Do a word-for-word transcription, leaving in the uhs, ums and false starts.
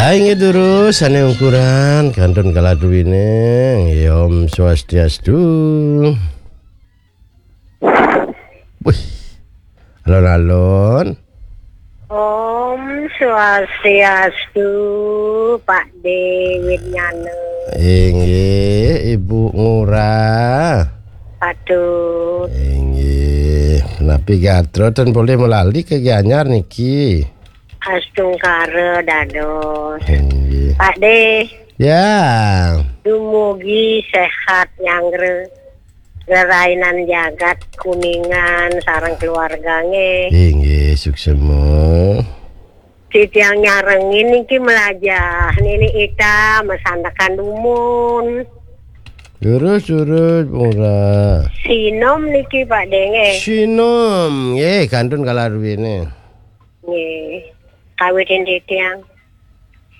Inggih durus, sané ungkuran, kantun kaladuwine. Nggih, Om Swastiastu. Wih. Alon-alon. Om Swastiastu, Pak De Widnyana. Inggih, Ibu Ngurah. Patut. Inggih. Napi gatra ten polih malali ka Gianyar niki? Astungkara dados. Inggih. Pak De. Ya. Dumugi sehat nyanggra. Rerainan jagat Kuningan sareng keluarga nggih. Inggih, suksema. Titiang nyarengin niki melajah Nini Ita masandekan dumun. Durus, durus, Ngurah. Sinom niki Pak De nggih. Sinom, nggih, kantun kaladuwine. Nggih. Kawitin titiang.